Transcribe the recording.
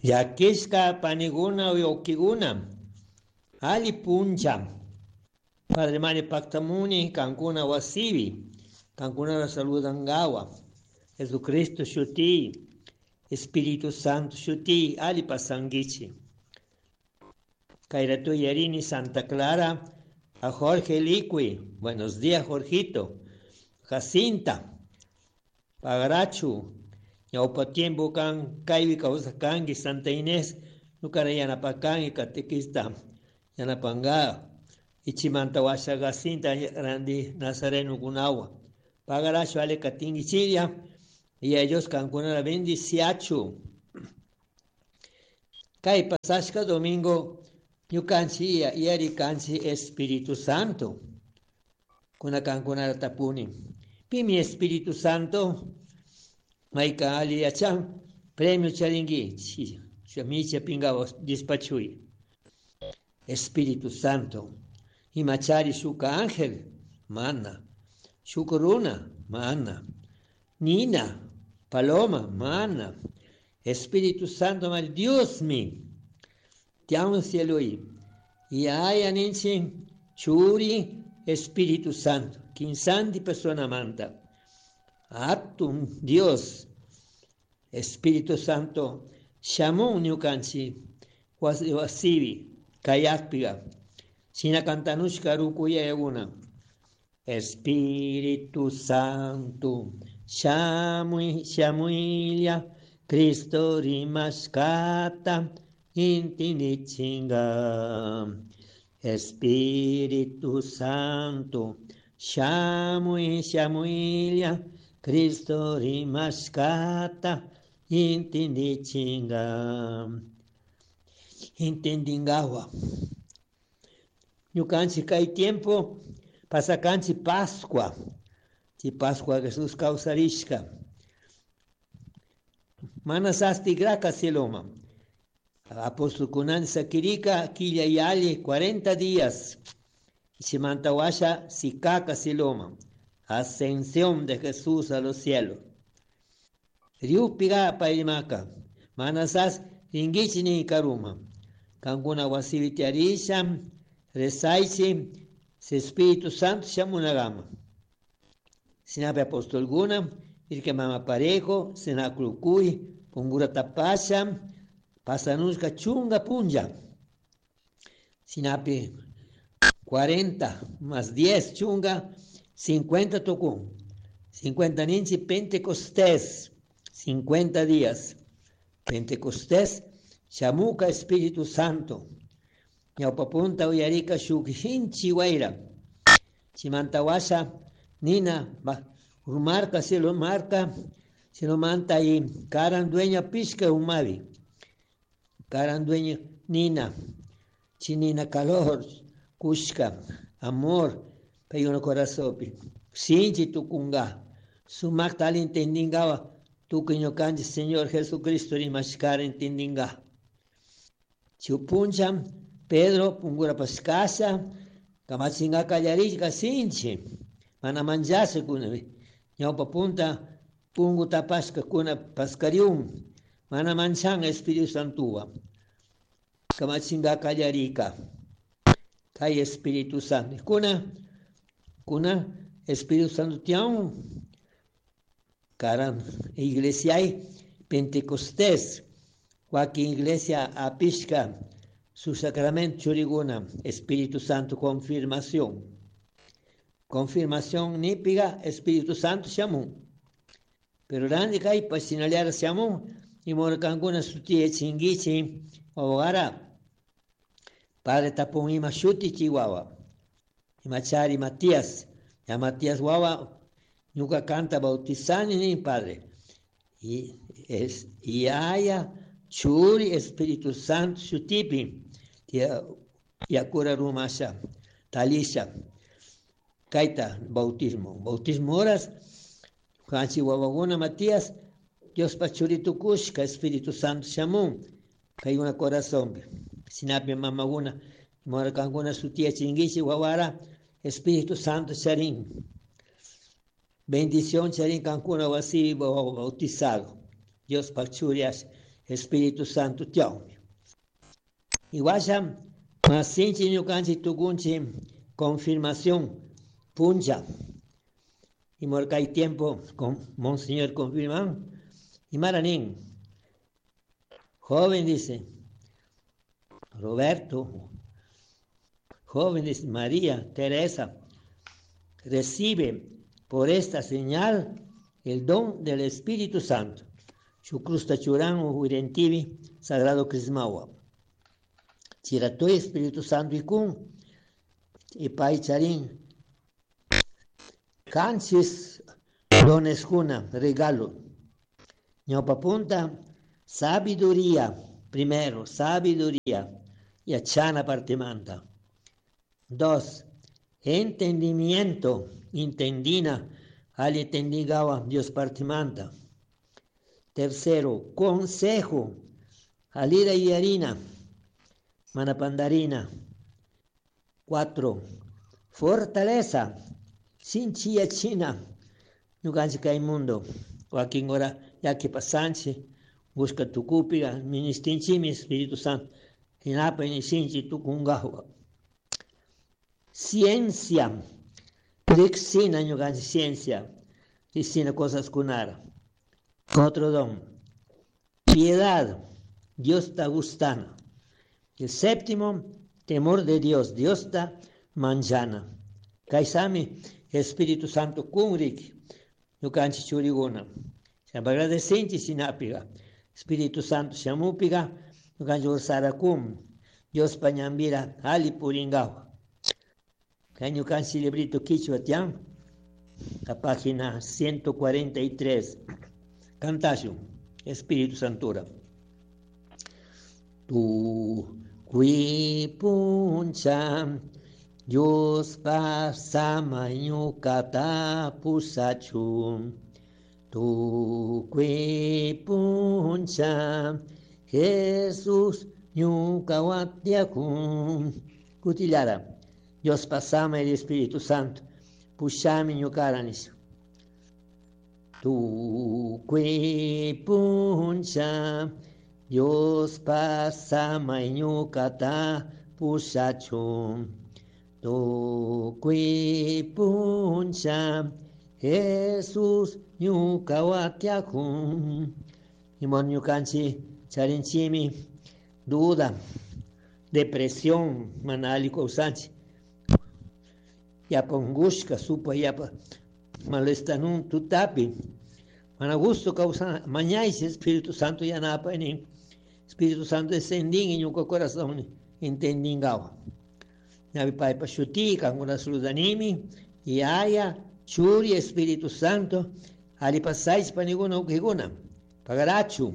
Llakishka paniguna wawqikuna alli puncha. Padre Mario Pactamuni kankuna wasipi kankunata saludangawa. Jesucristo shuti, Espíritu Santo shuti alli pasanguichi. Kayratu yarini Santa Clara a Jorge Liqui. Buenos días, Jorgito. Jacinta. Pagarachu. Ñawpa tiempo kan kaypi kawsarkanki Santa Inés ñukara yanapakanki catequista yanapanga ichimanta washa Jacinta randi Nazareno kunawa. Pagarachu ale katinkichilla y ellos kankunata bendiciachu. Kay pasashka domingo ñukanchik yarikanchik Espíritu Santo. Kuna kankunata tapuni. Pimi Espíritu Santo? Mayka alli yachan premio charinki micha pingawa despachuy. Espíritu Santo. Imachari shuka ángel, mana. Shuka runa, mana. Nina, paloma, mana. Espíritu Santo, mar Dios mi. Tiamo cielo y ay aninchi churi Espíritu Santo. Kinsanti persona manta. Atum Dios. Espíritu Santo. Shamun ñukanchi wasibi kayakpiga. Shina cantanushka rukuyayaguna. Espíritu Santo, shamui shamuilla, Cristo rimashkata intinichinga. Espíritu Santo, shamui shamuilla, Cristo rimashkata intinichinga. Intendingawa. Ñukanchik kay tiempo pasakanchik Pascua. Chi Pascua Jesús kawsarishka. Mana sastigraka cieloma. Apóstol sakirika quilla yalli 40 días. Chimantawasha sikaka cieloma. Ascensión de Jesús a los cielos. Riupiga paymaka. Manasas ringichini karuma. Kankuna wasipi tiyarisha rezaichi se Espíritu Santo shamunagama. Sinapi apostolguna, irke mama parejo, sinaklukuy, pungura tapasha, pasanushka chunga punlla. Sinapi 40 más 10 chunga, 50 tukun. 50 ninchi Pentecostés, 50 días. Pentecostés, shamuka Espíritu Santo. Ñawpapunta uyarika shuk hinchi wayra. Chimantawasha nina urmarka cielo marka manta y karan dueña pishka umavi. Karan dueña nina. Chinina calor, kushka, amor, payuna corazopi. Sinchi tukunga. Sumakta alli entendingawa tukuy ñukanchik Señor Jesucristo rimashkara entendinga. Chupuncha Pedro pungura paskasha kamachinga kallarishka sinchi. Mana manchasha kuna. Ñawpa punta pungu tapashka kuna paskariun. Mana manchan Espíritu Santuwa. Kamachinga kallarika. Kay Espíritu Santo. Kuna, kuna Espíritu Santo tiyan karan iglesia Pentecostés. Wakin iglesia apishka su sacramento churiguna, Espíritu Santo confirmación. Confirmación nipiga Espíritu Santo shamun. Pero randi kay pasinaliara shamun y morkankuna suti chingichi wawara. Padre tapun ima shuti chihuahua. Imachari Matías. Ya Matías wawa ñuka kanta bautizani ni padre. Y es y haya churi Espíritu Santo shutipi yakura rumasha talisha kaita bautismo bautismo horas kanchi wawaguna Matías Dios pa churi tukushka Espíritu Santo shamun kaykuna corazonpi sinapi mamaguna morakankuna sutiya chingichi wawara Espíritu Santo charin bendición charin kankuna wasi bautizado Dios pa churi. Espíritu Santo tiawmi. Iwasha masinchi ñukanchik tukunchi confirmación puncha. Y morcay tiempo con Monseñor confirman. Y maranín, joven dice, Roberto, joven dice, María Teresa, recibe por esta señal el don del Espíritu Santo. Chucrusta churan uirentivi, sagrado crismawa. Chiratoy Espíritu Santo y kun, y paicharín, canchis dones juna, regalo. Ñaupapunta, sabiduría, primero, sabiduría, y achana partimanta. Dos, entendimiento, intendina, al entendigawa Dios partimanta. Tercero, consejo, alira y harina, manapandarina. Cuatro, fortaleza, sinchia china, ñukanchik kay mundo. Wakin hora llaki pasanchik, busca tukupiga, ministinchimi Espíritu Santo, hinapa sinchi tukungawa. Ciencia, riksina ñukanchik ciencia, riksina cosas kunara. Otro don, piedad, Dios está gustando. El séptimo, temor de Dios, Dios está manjana. Kaisami, Espíritu Santo kunrik, ñukanchik churiguna. Agradecenchi sinapiga. Espíritu Santo shamupiga, ñukanchik ursarakum. Dios pañambira, ali puringawa. Kay ñukanchik librito quichua tiyan, la página 143. Cantashun, Espíritu Santura. Tu puncha, Dios pasama ñucata pusachun. Tu puncha, Jesús ñuca watiakun. Kutillara, Dios pasama el Espíritu Santo, pushami ñucaranis. Tu puncha, Dios pasama ñucata pusachun. Tu puncha, Jesús ñuca watiakun. Imon ñukanchi charinchimi duda, depresión, mana alli kawsanchik. Yapa ungushka, supa yapa malestanun tutapi. Mana gusto kawsana, mañaysi Espíritu Santo yanapa nin. Espíritu Santo descendin ñuka corazón entendingawa. Ñavi paypa shutika, kankuna saludanimi, Yaya, Churi, Espíritu Santo, alli pasaychik panikuna wawqikuna, pagarachu.